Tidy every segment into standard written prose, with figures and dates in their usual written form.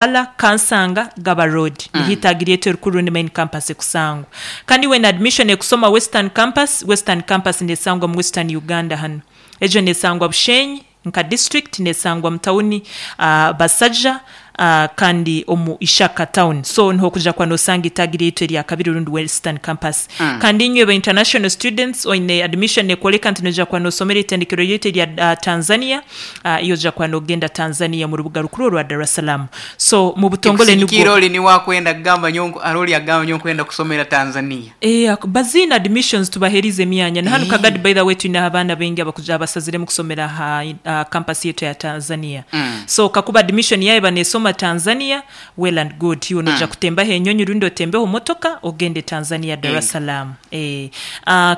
Kampala, Kansanga, Gaba Road niho itaagi ryaitu erikuru rundi main campus ekusangwa. Kandi iwe na admission ekusoma Western Campus, Western Campus nesangwa mu Western Uganda hanu. Egyo nesangwa Bushenyi nka district, nesangwa mu tawuni Basaja kandi omu Ishaka town. So niho okuja kuba nosanga itaagi ryaitu erya kabiri rundi Western Campus. Kandi inywe ba international students oine admission nekworeka nti noija kuba nosomera eitendekero ryaitu erya Tanzania, Iwe oja kuba nogenda Tanzania mu rubuga rukuru orwa Dar es Salaam. So mu butongole nibwo. Ekusigikira ori niwe akwenda kugamba nyowe nku hariho ori agamba nyowe nkwenda kusomera Tanzania. Eeh baziine admissions tubaherize emyanya. Na hanu Kagadi by the way twineho abaana baingi abakuja abasaziremu kusomera aha aha campus yaitu eya Tanzania. So kakuba admission yaawe eba nesoma Tanzania, well and good. Iwe noija kutembaho enyonyi rundi otembeho motoka ogende Tanzania Dar es Salaam. Eeh.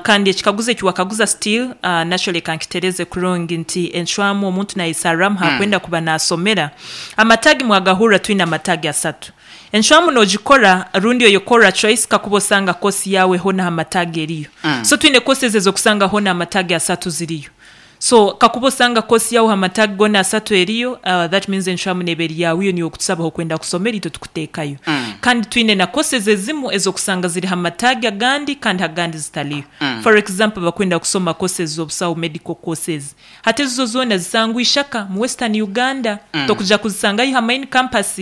Kandi ekikaguzo eki wakaguza still nakyo leka nkitereze kurungi nti encwamu omuntu nayesarramu hakwenda kuba nasomera. Amatagi mwagahurra twine amatagi asatu. Encwamu nogikora rundi oyekorra choice kakuba osanga course yawe hona hamatagi eriyo. So twine courses ezokusanga hona amatagi asatu ziriyo. So kakuba osanga course yawe hamatagi gona asatu eriyo, that means encwamu neba eri yawe iyo niiwe okutusaba ahokwenda kusomera itwe tukutekayo. Kandi twine na courses ezimu ezokusanga ziri hamatagi agandi kandi agandi zitaliyo. For example abakwenda kusoma courses zobusaho medical courses hati ezo zona zisangwa Ishaka mu western Uganda tokuja kuzisangayo ha main campus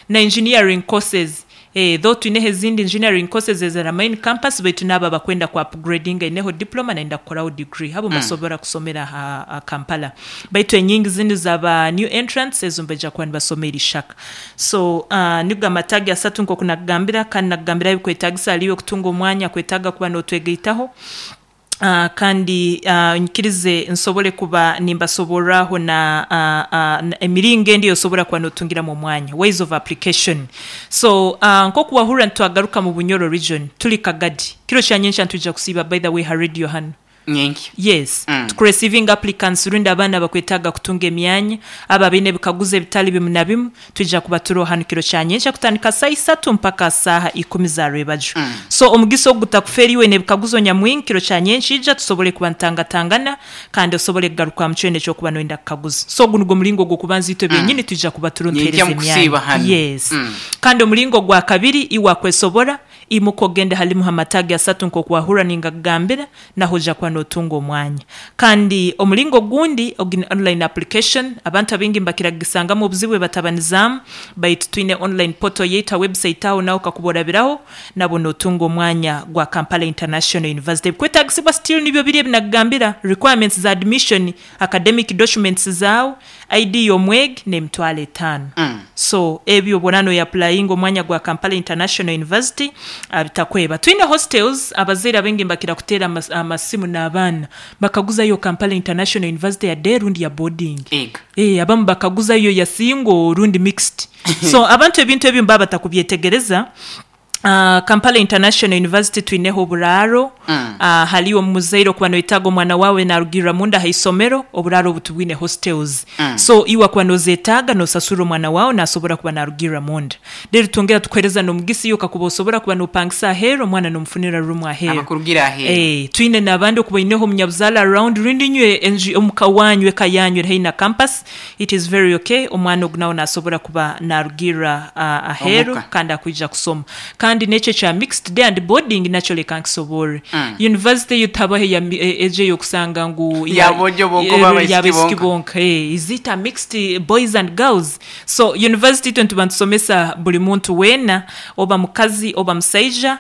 na engineering courses Eeh though twineho ezindi engineering courses eziri aha main campus baitu naabo abakwenda ku upgradinga aineho diploma nayenda kukoraho degree abo nibasobora kusomera aha Kampala baitu enyingi zinu za ba new entrants ezo nibaija kuba nibasoma Ishaka. So nigo amataagi asatu nkoku nakugambira kandi nakugambira ebikwetagisa hariiwe kutunga omwanya kwetaaga kuba notwegaitaho. Kandi nyikirize nsobole kuba nimbasoborraho na emiringo endi ey'osobora kuba n'otungiramu omwanya, ways of application. So nk'oku wahurra nitwagaruka mu Bunyoro region, turi Kagadi. Kiro kya nyenkya nitwija kusiiba by the way ha radio hanu. Nyenkya. Yes. Tukuresiivinga applicants rundi abaana abakwetaaga kutunga emyanya, abo abaine ebikaguzo ebitali bimu na bimu. Twija kuba turoho hanu kiro kya nyenkya kutandika saaha isatu mpaka saaha ikumi za rwebagyo. So omugisa ogu gutakufeera iwe n'ebikaguzo nyamwingi kiro kya nyenkya ija tusobole kuba nitangatangana kandi osobole kugarukwamu kyona eki orikuba noyenda kukaguza. So ogu nigwo muringo ogw'okubanza itwe benyini twija kuba turiho Nyenkya nituheereza mukusiiba emyanya. hanu. Yes. Kandi omuringo ogwa kabiri iwe akwesobora, imuka ogende halimu ha mataagi asatu nk'oku wahurra ningakugambira, naho oija kuba notunga omwanya. Kandi omuringo ogundi ogu ni online application, abantu abaingi nibakira kugisangamu obuzibu ebatabanizamu, baitu twine online portal yaitu ha website aho naho kakuba orabiraho nabwo notunga omwanya gwa Kampala International University. Ebikwetagisibwa still nibyo biri ebinakugambira, requirements za admission, academic documents zaawe, ID y'omwegi n'emitwaro etaano. So ebyo obu oraba noyapurayinga omwanya gwa Kampala International University bitakweba. Twine hostels, abazaire abaingi nibakira kuteera amasimu n'abaana bakaguzayo Kampala International University ya day rundi ya boarding. Ego. Eeh abamu bakaguzayo ya single rundi mixed. So abantu ebintu ebi nibaba batakubyetegereza. Kampala International University twineho oburaaro, hariyo omuzaire okuba noyetaaga omwana waawe narugirira munda aha isomero, oburaaro obu tubwine hostels. So iwe wakuba nozetaaga nosasurra omwana waawe nasobora kuba narugirra munda. Reero twongera tukuhereza n'omugisa iwe kakuba osobora kuba nopangisa aheeru omwana nomufunira room aheeru. Abakurugira aheeru. Twine n'abandi okuba oineho omunyabuzaare around rundi inywe enju omuka waanyu eka yaanyu eri haihi na campus, It is very ok, omwana ogu nawe nasobora kuba narugirra aheeru Omuka. kandi akwija kusoma. Kandi n'ekyo ekya mixed day and boarding nakyo leka nkisoborre. University eyo tihabaho eya egyo ey'okusanga ngu Ya boojo bonka oba abaisiki y'abaisiki bonka. bonka. Is it a mixed boys and girls? So university itwe nituba nitusomesa buri muntu weena, oba mukazi oba musaija,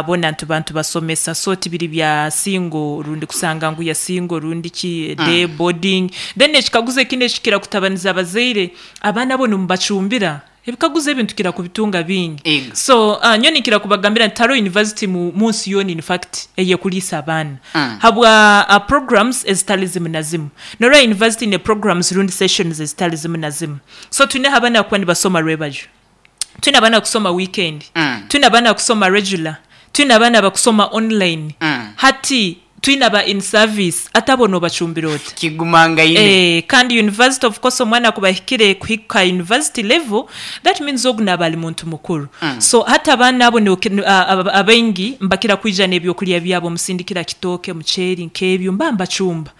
Bona nituba nitubasomesa so tibiri bya single rundi kusanga ngu ya single rundi ki day boarding. Then ekikaguzo ekindi ekikira kutabaniza abazaire, abaana bo nimubacumbira? Ebikaguzo ebi nitukira kubitunga bingi. Ego. So nyowe ninkira kubagambira nti tihariho university munsi yoona in fact eyekuriisa abaana habwa programs ezitari zimu na zimu. Norora university eine programs rundi sessions ezitari zimu na zimu. So twineho abaana abakuba nibasoma rwebajyo. Twine abaana kusoma weekend, twine abaana kusoma regular, twine abaana abakusoma online. Hati. Twine aba in service ate abo nobacumbira ota? Kigumangaine. Eeh kandi university of course omwana kuba ahikire kuhika university level that means ogu naaba ari muntu mukuru so hati abaana abo abaingi nibakira kwija n'ebyokurya byabo musindikira kitooke, muceeri nk'ebyo mba mbacumba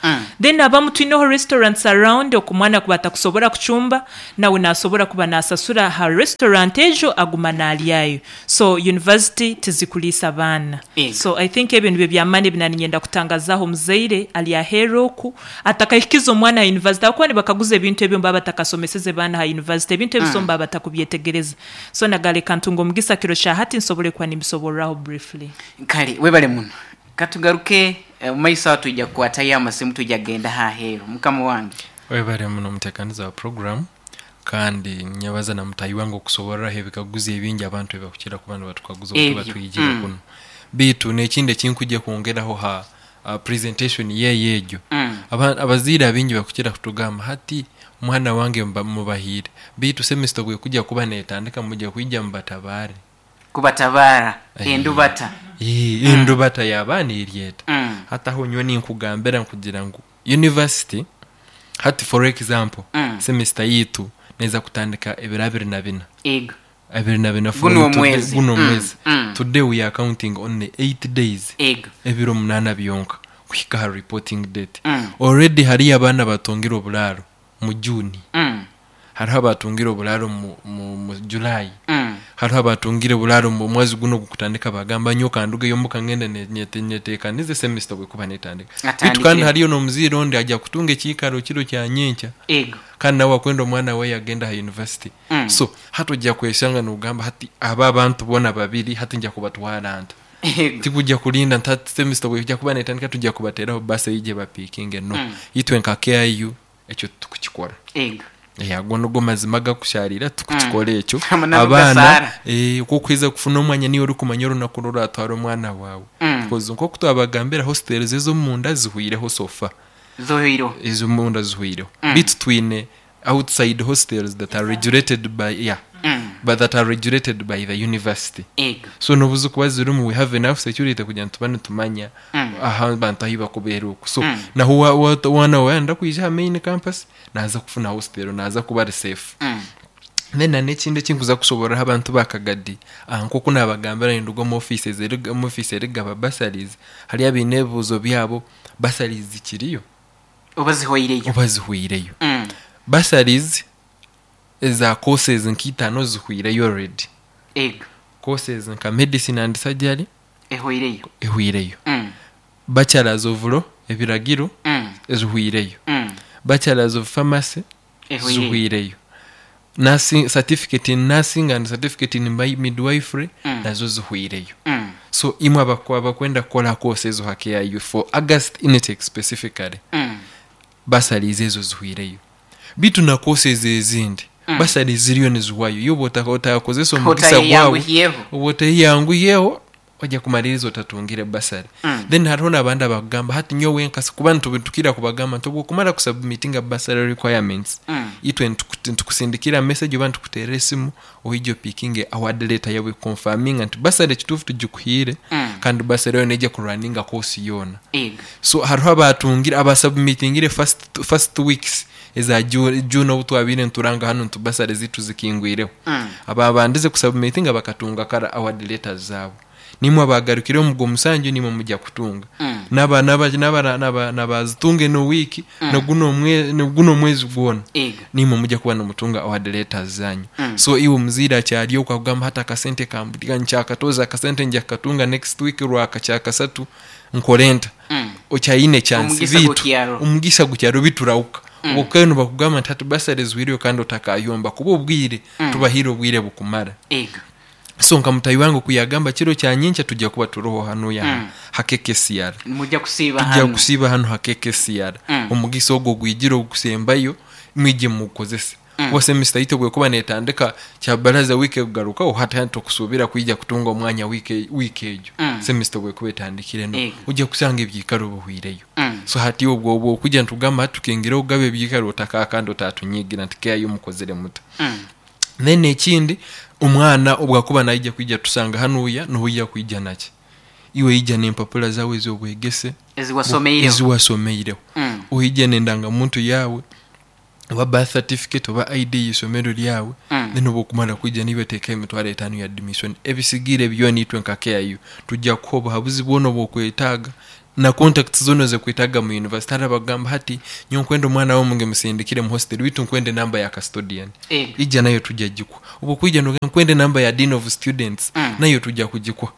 then abamu twineho restaurants around oku omwana kuba atakusobora kucumba nawe nasobora kuba nasasura aha restaurant ejo aguma naryayo. So university tizikuriisa baana. So I think ebyo nibyo byamani ebi naninyenda kutangazaho omuzaire ari aheeru oku atakahikize omwana aha university ahabw'okuba nibakaguza ebintu ebyo nibaba batakasomeseze baana aha university ebintu ebi so nibaba batakubyetegereza. So naga reka ntunge omugisa kiro kya hati nsobole kuba nimbisoborraho briefly. Kare webale muno. Katugaruke omu maiso aho twija kukwatayo amasimu twija kugenda aha aheeru. Mukama wange. Webale muno omutekaniza wa program. Kandi ninyebaza na mutaahi wange okusoborraho ebikaguzo ebingi abantu ebi bakukira kuba nibatukaguza obu tuba Ebyo. twijire kunu. Baitu n'ekindi eki nkwija kwongeraho ha presentation ye egyo, abazaire abaingi bakukira kutugamba hati omwana wange mubahaire, baitu semester obu ekujya kuba netandika mwija kwija mubatabaare. Kubatabaara endubata. Endubata y'abaana eri eta? Hati aho nyowe ninkugambira nkugira ngu University hati for example semester yaitu neza kutandika ebiro 24. Ego. 24 from Guno today, omwezi. guno omwezi. Today we are counting only 8 days. Ego. Ebiro 8 byonka kuhika aha reporting date. Already hariyo abaana abatungire oburaaro mu June. Hariho abatungire oburaaro mu July. Hariho abatungire oburaaro omu mwezi gunu ogukutandika bagamba nyowe kandugeyo omuka ngende nyetekanize semester obwekuba netandika. Beitu kandi Atandikire. hariyo n'omuzaire ondi aija kutunga ekiikaro kiro kya nyenkya Ego. kandi nawe akwenda omwana weye agende aha university. So hati oija kweshanga nogamba hati aba abantu boona babiri hati nja kubatwara nta? Ego. Tikujja kurinda nti hati semester obwekuja kuba netandika tujja kubateraho bus eije ebapikinge no. Itwe nka KIU ekyo titukukikora. Ego. Ago nigo mazima agakusharira tikukikora ekyo. Amananu Abaana gasaara. ku okuheza kufuna omwanya niiwe orikumanya orunaku oru oratwara omwana waawe. Because nk'oku twabagambira hostels ez'omunda zihwireho so far. Zohwireho. Ez'omunda zihwireho. Beitu twine outside hostels that are regulated by yeah, but that are regulated by the university. Ego. So n'obu zikuba zirimu we have enough security kugira ngu tuba nitumanya aha abantu ahu bakubeera oku. So nahu waaba wayenda kwija aha main campus naaza kufuna hostel naaza kuba ari safe. Then na n'ekindi eki nkuza kushoboororaho abantu ba Kagadi nk'oku naabagambira ninduga omu office omu office erikugaba bursaries hariyo abaine ebibuuzo byabo bursaries zikiriyo? Oba zihweireyo? Oba zihweireyo. Bursaries eza courses nka itaano zihweireyo already. Ego. Courses nka medicine and surgery Ehweireyo. ehweireyo. Bachelors of law, ebiragiro, zihweireyo. Bachelors of pharmacy Ehweireyo. zihweireyo. Nursing, certificate in nursing and certificate in midwifery nazo zihweireyo. So imwe abakwenda kukora course ezo ha KIU for August intake specifically, bursaries ezo zihweireyo. Beitu na courses ezindi bursaries ziriyo nizihwayo. Iwe oba otakozesa omugisa gwawe, Otayeyanguhiyeho. oba oteyanguhiyeho, ojja kumaririza otatungire bursary. Then hariho n'abandi abakugamba hati nyowe nka kuba nitukira kubagamba nti obwokumara kusubmitinga bursary requirements, itwe nitukusindikira message oba nitukuteerera esimu oije opikinge award letter yawe confirminga nti bursary ekituufu tugikuhaire kandi bursary eyo neija kurunninga course yoona. Ego. So hariho abatungire abasubmitingire first 2 weeks eza June obu twabaire nituranga hanu nti bursary zaitu zikingwireho. Ababandize kusubmitinga bakatunga kara award letters zaabo. Nimwe abagarukire omu gw'omusanju nimwe mujya kutunga. N'abazitunga eno wiiki n'oguno omwezi gwona. Ego. Nimwe mujya kuba nimutunga award letters zanyu. So iwe omuzaire akyari okwo akugamba hati akasente kamburiga nkyakatoza akasente nja kukatunga next week rwaka kyakasatu nkore nta. Okyayine chance Omugisa bitu. gukyaro. Omugisa gukyaro biturauka. Obwo nibakugamba nti hati bursary zihwireyo kandi otakayomba kuba obwire tubahire obwire bukumara. Ego. So nka mutayi wange kuyagamba kiro kya nyenkya tujya kuba turoho hanu ya ha KKCR. Mujya kusiiba Tujya hanu. kusiiba hanu ha KKCR. Omugisa ogwo gwijire ogukusembayo mwije mugukozese. Kuba semester yaitu obwekuba netandika kya baraza wiiki ekugarukaho hati hati tokusuubira kwija kutunga omwanya wiiki egyo. Semester obwekuba etandikire no. Ego. Ojja kusanga ebyikaro bihwireyo. So hati obwo obwo okujja nitugamba hati tukingire okugaba ebyikaro otaka kandi otatunyigira nti KIU mukozire muta. Then ekindi omwana obwakuba naija kwija tusanga hanuya noija kwija naki. Iwe ija n'empapura zaawe ez'obwegese Ezi wasomeireho. ezi wasomeireho. Mm. Oije n'endangamuntu yaawe oba birth certificate oba ID y'isomero ryawe. Then obu okumara kwija niiwe teekaho 50,000 ya admission. Ebisigaire byona itwe nka KIU tujja kukuha obuhabuzi bwona obu okwetaaga na contacts zoona ezikwetaaga mu university. Hariho abakugamba hati nyowe nkwenda omwana wange musindikire mu hostel beitu nkwenda enamba ya custodian. Ego. Ija nayo tujja gikuha. Obu okwija nogamba nkwenda enamba ya dean of students nayo tujja kugikuha.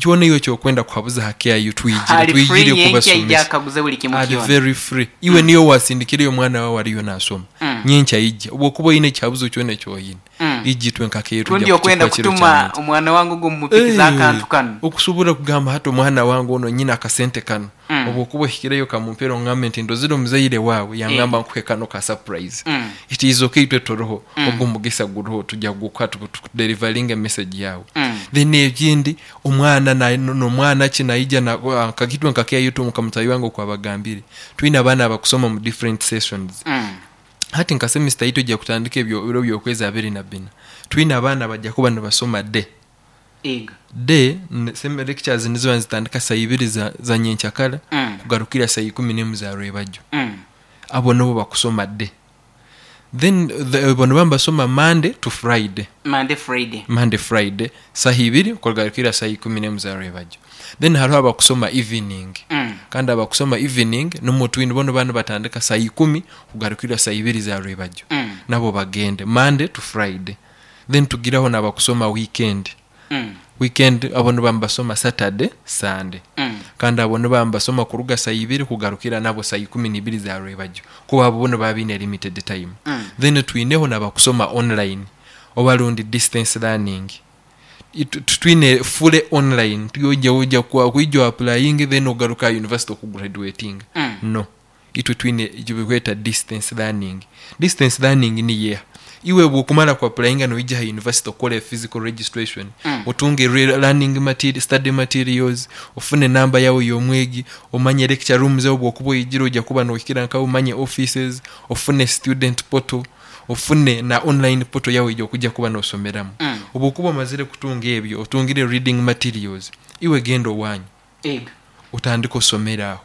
Kyona iwe ekyokwenda kuhabuza ha KIU twijire Ali free twijire nyenkya ija kubasomesa. akaguze buli kimu Ali kyona. very free. Iwe niyo wasindikireyo omwana wawe ariyo nasoma. Nyenkya ija. Obu okuba oine ekihabuzo kyona eki oine. Ija itwe nka KIU Rundi tujja okwenda kukikuha kiro kutuma kya nyenkya. omwana wange ogu mumupikiza akantu kanu. Okusobora kugamba hati omwana wange ono nyine akasente kano. Obu okuba ohikireyo kamumpera ongambe nti ndozire omuzaire wawe yangamba nkuhe kano ka surprise. It is okay itwe turiho. Ogwo omugisa guriho tujja kugukuha tukudelivaringe message yawe. Then ekindi omwana n'omwana ki naija na kakitwe nka KIU tu nka mutayi wange okwabagambire. Twine abaana abakusoma mu different sessions. Hati nka semester yitu ejja kutandika ebyo ebiro by'okwezi 24. Twine abaana bajja kuba nibasoma day. Ego. Day lectures niziba nizitandika saa ibiri za nyenkyakara kugarukira saa 11 za rwebagyo. Abo nibo bakusoma day. Then bono baba nibasoma Monday to Friday. Monday Friday. Monday Friday saa ibiri kugarukira saa 11 za rwebagyo. Then hariho abakusoma evening. Kandi abakusoma evening nimwo twine bono bana batandika saa 10 kugarukira saa 2 za rwebagyo. Nabo bagende Monday to Friday. Then tugiraho n'abakusoma weekend. Weekend abo nibo nibasoma Saturday, Sunday. Kandi abo nibo nibasoma kuruga saa 2 kugarukira nabo saa 12 za rwebagyo. Kuba abo bono baba baine limited time. Then twineho n'abakusoma online oba rundi distance learning. Twine fully online. Tuyoja oja kwa kuija applying then ogaruka university okugraduating. No. Itwe twine ekibikweta distance learning. Distance learning ni yeha. Iwe bwokumara ku applyinga noija ha university okore physical registration. Otunge learning material, study materials, ofune namba yawe y'omwegi, omanye lecture rooms zawe bwokuba oyijire ojja kuba nohikira nkawe, omanye offices, ofune student portal, ofune na online portal yawe ejja okujja kuba nosomeramu. Obu okuba omazire kutunga ebyo, otungire reading materials, iwe genda owanyu. Ego. Otandika osomera aho.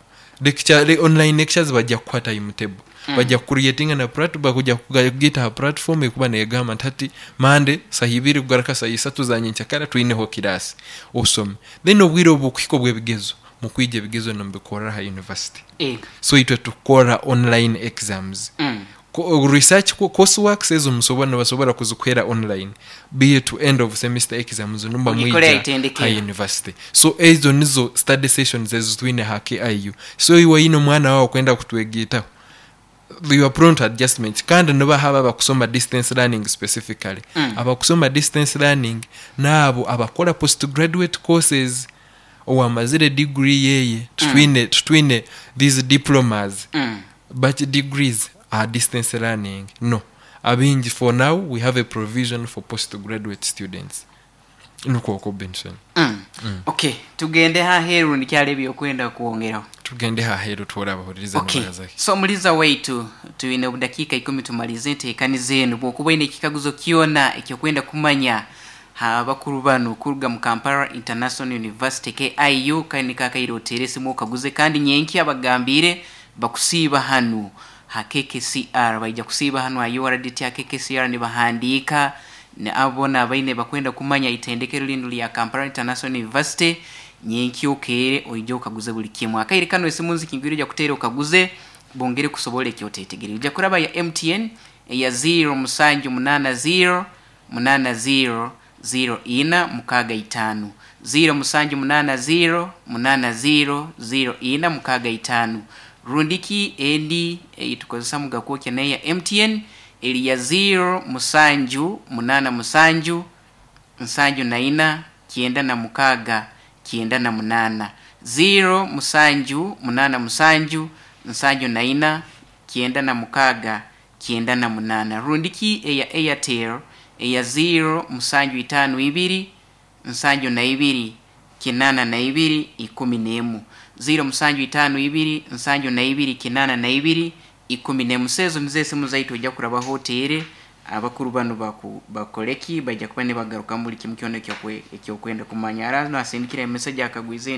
Online lectures bajja kukuha timetable. Bajja kucreatinga na bakuja kugita ha platform ekuba negamba nti hati Monday saa 2 kugaruka saa 3 za nyenkyakara twineho kirasi osome. Then obwire obu kuhika obw'ebigezo mukwija ebigezo nimubikorera ha university. Ego. So itwe tukora online exams. Research courseworks ezo nibasobora kuzikwera online. Be to end of semester exams numba Ogikorera mwija itendekero. ha university. So ezo nizo study sessions ezo twine ha KIU. So iwe ino mwana wawe kwenda kutwegitaho. You are prone to adjustments. Kandi niba haba abakusoma distance learning specifically. Abakusoma distance learning nabo abakora postgraduate courses owamazire degree yeye. Tutwine these diplomas. But degrees are distance learning. No. Abingi for now we have a provision for postgraduate students. Nuko uko Benson. Okay, tugende haheru nikyali ebyokwenda kwongeraho. Tugende haheru twora abahuririza Okay. n'abazaki. So muliza waitu tuine obudakiika 10 tumalize enteekaniza enu. Bw'okuba oine ekikaguzo kyona ekyokwenda kumanya abakuru bano kuruga mu Kampala International University KIU, kandi kakaire otere esimu okaguze, kandi nyenkya abagambire bakusiiba hanu ha KKCR, baija kusiiba hanu ha URDT ya KKCR nibahandiika ne abo nabaine bakwenda kumanya itendekero lino lya Kampala International University. Nyenkya okeere oije okaguze buli kimu. Akaire kano esimu nzikingwire ojja kuteera okaguze bongere kusobola ekyoteetegerere. Ojja kuraba ya MTN eya zero musanju munana zero munana zero zero ina mukaaga itaano. Zero musanju munana zero munana zero zero ina mukaaga itaano. Rundiki endi eitukozesa mugakwokya nayo ya MTN eri ya zero musanju munana musanju nsanju na ina kyenda na mukaaga kyenda na munana. Zero musanju munana musanju nsanju na ina kyenda na mukaaga kyenda na munana. Rundiki eya Airtel eya zero musanju itaano ibiri nsanju na ibiri kinana na ibiri ikumi n'emu. Zero musanju itaano ibiri nsanju na ibiri kinana na ibiri ikumi n'emu. Sezo nizo esimu zaitu ojja kurabaho oteere. Abakuru banu bakoleki bajja kuba nibagarukamu buli kimu kyona ekyokwenda kumanya. Ara nasindikira emessage akagwize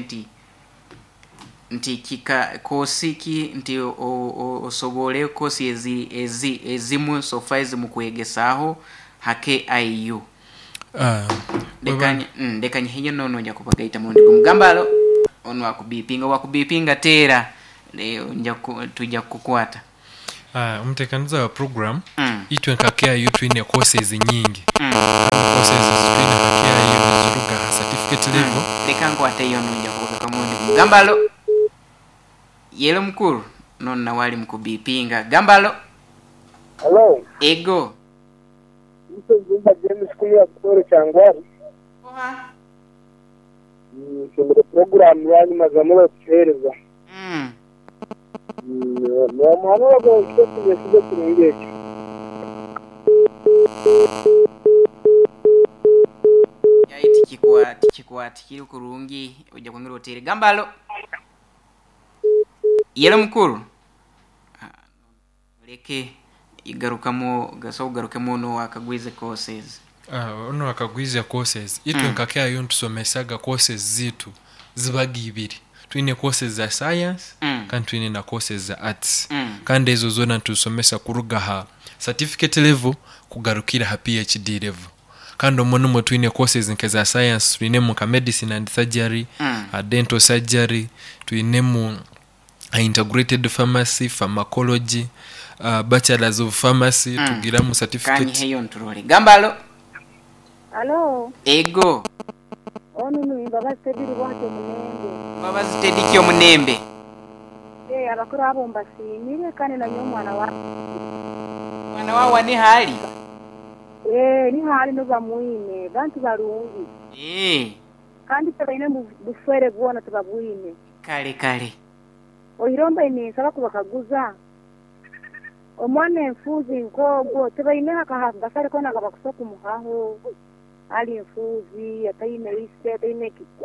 nti kika kosi ki nti osobole kosi ezi ezimu sofa ezimukwegesaaho ha KIU. Ndekanye hiyo nono nja kubagaita murundi gumu. Gambalo onu akubipinga wakubipinga tera nja tujja kukukwata. Omutekaniza wa program itwe nka KIU twine courses nyingi. Courses twine nka KIU niziruga ha certificate level. Leka nkwate iyo nja kubaga murundi gumu. Gambalo yelo mukuru nono nawe ali mukubipinga. Gambalo. Hello. Ego. Mzumba James kuya kutoro kyangwari. Nshobora program yanyu mazamura kuhereza. Mwana wago kyo kirungi ekyo. Yayi tikikwati kiri kurungi ojja kwongera otere. Gambalo. Yelo mukuru. Leke igarukamo gaso ugarukemo no akagwize courses. Ono akagwize courses. Itwe nka KIU ntusomesaga courses zitu zibaga ibiri. Twine courses za science kandi twine na courses za arts. Kandi ezo zona ntusomesa kuruga ha certificate level kugarukira ha PhD level. Kandi omwo nimwo twine courses nke za science, twinemu nka medicine and surgery, dental surgery, twinemu integrated pharmacy, pharmacology, bachelors of pharmacy, tugiramu certificate. Kanyi heyo nturore. Gambalo. Hello. Ego. Ono ni Mbabazi Teddy Rwate Munembe. Mbabazi Teddy kyo Munembe. Abakuru abo mbasimire kandi na nyomwana wa. Mwana wawe ni hali? Ni hali no bamwine, bantu barungi. Kandi tabaine buswere bwona tubabwine. Kale kale. Oyiromba inisaba kubakaguza. Omwana enfuzi nkogo tebaine akahanga kona gabakusoka muhaho. Ali enfuzi ataine ise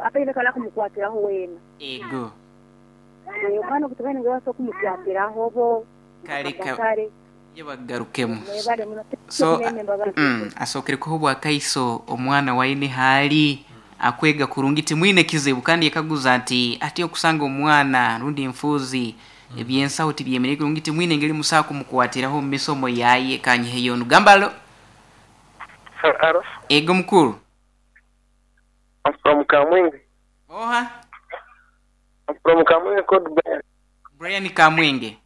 ataine kala kumukwatiraho wena. Ego. Omwana kutebaine gabasoka kumukwatiraho bo. Kale kale. Yebagarukemu. So asokere ko bwa kaiso omwana waine hali akwega kurungi timwine kizibu kandi yakaguza nti ati okusanga omwana rundi enfuzi ebyensaho tibyemereye kurungi timwine ngeri musa kumukwatiraho mu misomo yaye kanye heyo gambalo. Hello. Ego mukuru. I'm from Kamwenge. Oha. I'm from Kamwenge called Brian. Brian Kamwenge.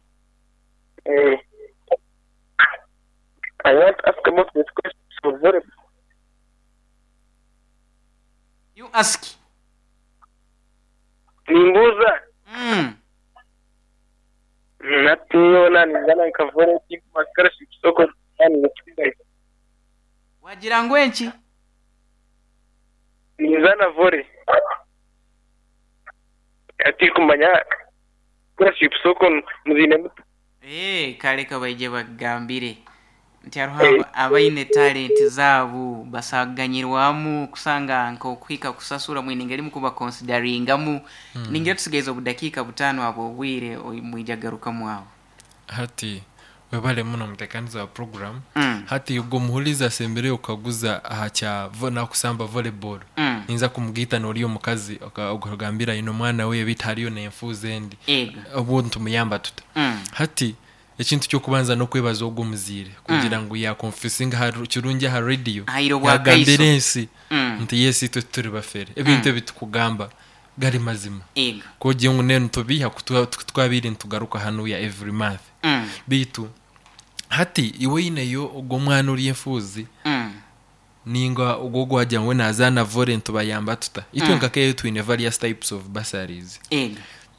I want to ask about this question. So very. You ask. Nimbuza. Nationa nizana nkavore kimakara soko yani. Wagira ngwenki? Nizana vore. Ati kumanya kura soko muzine mutu. Kale kabaije bagambire. Nti hariho abaine talent zaabo basaganyirwamu kusanga nkokwika kusasura mwine ngeri mukuba consideringamu. Ningira tusigaiza obudakiika 5 abo obwire mwijagarukamu aho. Hati webale muno mutekaniza wa program. Hati ubwo muhuliza asembere ukaguza aha kya na kusamba volleyball. Ninza kumugita noriyo mukazi okagambira ino mwana we bitariyo nenfuze ndi. Obu ntumuyamba tuta. Hati ekintu cyo kubanza no kwebaza ogwo muzire kugira ngo ya confessing ha kirungi ha radio yagambire ensi nti yesi twe turi bafere ebintu ebitukugamba gari mazima ko giye ngo nene tubiha twabiri ntugaruka hano ya every month. Bitu hati iwe ineyo ogwo mwana uri enfuzi ninga ogwo gwajya ngo nazana volley ntubayamba tuta itwe nkakeyo twine various types of bursaries.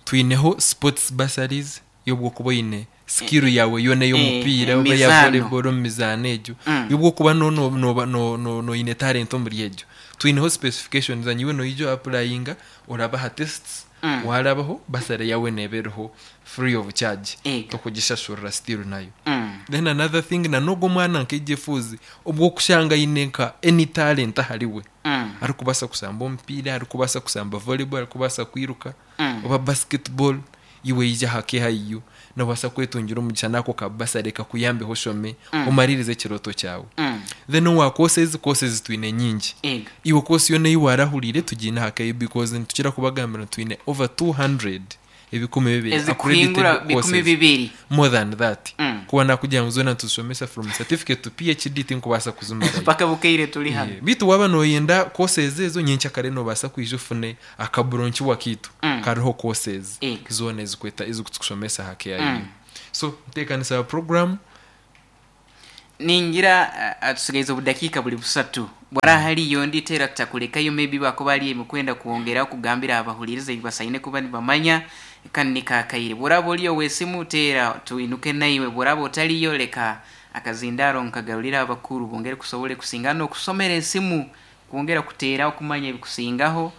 Twineho sports bursaries yobwo kuba ine skill yawe yone yo mupira oba ya volleyball mizano ejo yubwo kuba no ine talent omuri ejo twineho specifications anyiwe no ijo applyinga orabaha tests warabaho basare yawe nebereho free of charge tokugishashurira still nayo. Then another thing na nogo mwana nkejefuzi obwo kushanga inenka any talent ahariwe ari kubasa kusamba omupira, ari kubasa kusamba volleyball, ari kubasa kwiruka oba basketball iwe ija hake hayu Nobaasa kwetungira omugisha n'ako ka bursary kakuyambeho oshome omaririze ekirooto kyawe. Then owa courses, courses twine nyingi. Ego. Iwe course yoona ei waarahuriire tugiine aha KU because nitukira kubagambira ngu twine over 200 200 Ezikuhingura accredited bikumi courses. bibiri. More than that. Kuba nakugira ngu zoona nituzishomesa from certificate to PhD tinkubaasa kuzimarayo. Paka bukeire turi hanu. Yeah. Beitu waaba nooyenda courses ezo nyenkyakare noobaasa kwija ofune akaburonkiwa kaitu kariho courses Ego. zoona ezikweta ezikutushomesa aha KIU. So nteekanisa ya program. Ningira atusigaize obudakiika buri busatu. Bwara hariyo ndi teera tutakurekayo maybe bakuba ari emikwenda kwongera kugambira abahuririza ebi basaine kuba nibamanya kandi nikakaire. Bworaba ori ow'esimu teera tuinuke naiwe, bworaba otariyo leka akazindaro nkagarurira abakuru bongere kusobole kusinga n'okusomera esimu kwongera kuteera okumanya ebikusingaho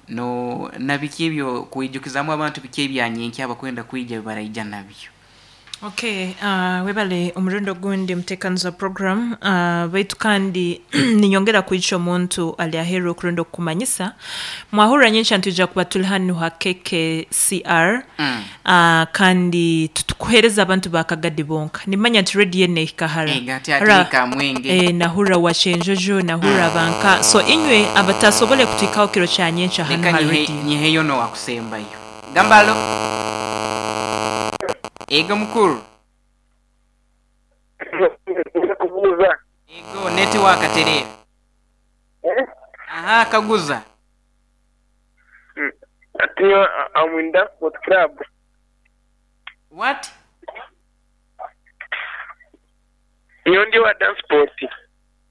no na biki ebyo kwijukizamu abantu biki ebyanyenkya abakwenda kwija baraija nabyo. Okay, webale omurundi ogundi muteekaniza program baitu kandi ninyongera kwica omuntu ali aheeru okurunda okukumanyisa. Mwahurra nyenkya nitwija kuba turi hanu ha KKCR kandi titukuheereza abantu ba Kagadi bonka. Nimanya nti radio enu ehika hara. Ega, ati ati hika Mwenge. Nahurra Wakyenjojo, nahurra Banka. So inywe abatasobole kutuhikaho kiro kya nyenkya hanu Leka ha nyihe radio. nyiheyo n'owakusembayo. Gamba alo. Ego mukuru. Kubuuza. Ego netiwaaka tereera. Aha kaguza. Ati nyowe am in dance sport club. What? Nyowe ndi owa dance sport.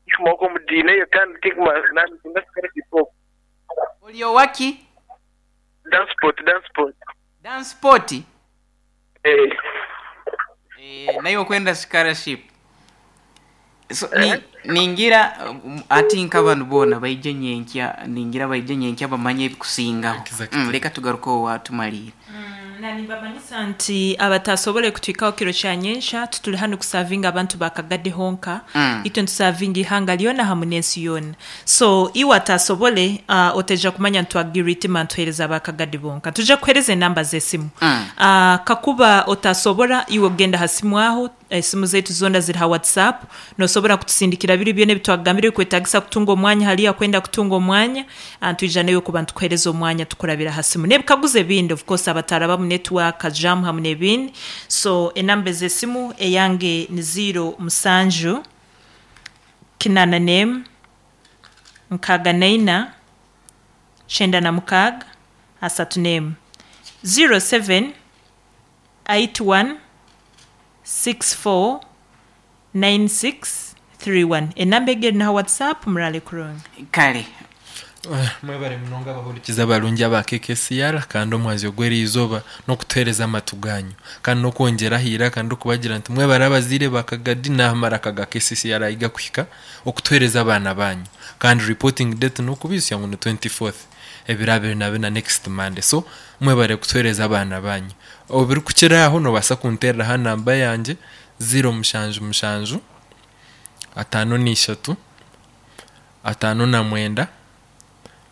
Nkomoka omu diini eyo kandi tinkumanya scholarship okwo. Ori owaki? Dance sport, dance sport. Dance sport? Eh. Eh, naiwe okwenda scholarship. So, ni, ningira ati nk'abantu boona baije nyenkya, ningira baije nyenkya bamanye ebikusingaho. Exactly. Leka tugaruke owa tumaliire. Na nibamanyisa nti abatasobole kutuhikaho kiro kya nyenkya tuturi hanu kusavinga abantu ba Kagadi honka. Itwe nitusavinga ihanga lyona hamu n'ensi yoona. So iwe atasobole oteja kumanya nitwagira itima nituhereza aba Kagadi bonka. Tuja kuhereza enamba z'esimu. Kakuba otasobora iwe ogenda ha simu aho, esimu zaitu zoona ziri ha WhatsApp, nosobora kutusindikira biri byona ebitwagambire bikwetagisa kutunga omwanya hariya kwenda kutunga omwanya, nitwija nayo kuba nitukuhereza omwanya tukurabira ha simu. N'ebikaguzo ebindi of course abataraba mu network jam hamu n'ebindi. So enamba z'esimu eyange ni ziro musanju kinana n'emu nkaaga naina kyenda na mukaaga asatu n'emu 07 81 64 96 31. Enamba egi eri naha WhatsApp murale kurungi. Kale. Mwebare munonga abahurikiza abarungi aba KKCR kandi omwazyo gw'eriizooba n'okutuheereza amatu ganyu kandi n'okwongyera aha iraka ndikubagira nti mwebare abazaire ba Kagadi n'aha maraka ga KCCR ahi gakuhika okutuheereza abaana banyu kandi reporting date n'okubaijutsya ngu ni 24th ebiro abiri na bina next Monday so mwebare kutuheereza abaana banyu. Obirikukira aho noobaasa kunteerera aha namba yangye ziro mushanju mushanju 53 59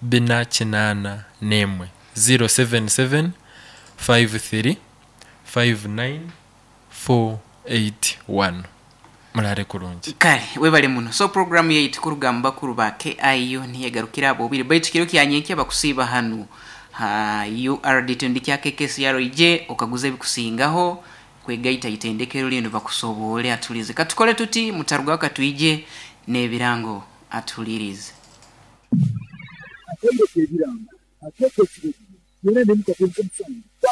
481 077 53 59 481. Murare kurungi. Kale webale muno. So program yaitu kuruga mu bakuru ba KIU niyegarukira abo bubiri baitu kiro kya nyenkya bakusiiba hanu ha URD tundi kya KKCR ije okaguza ebikusingaho kwegaita itendekero linu bakusobole atulize. Katukole tuti mutaruga katuije n'ebirango atulirize. Akendeke ebirango, akekekire, yena ne mukatente musango.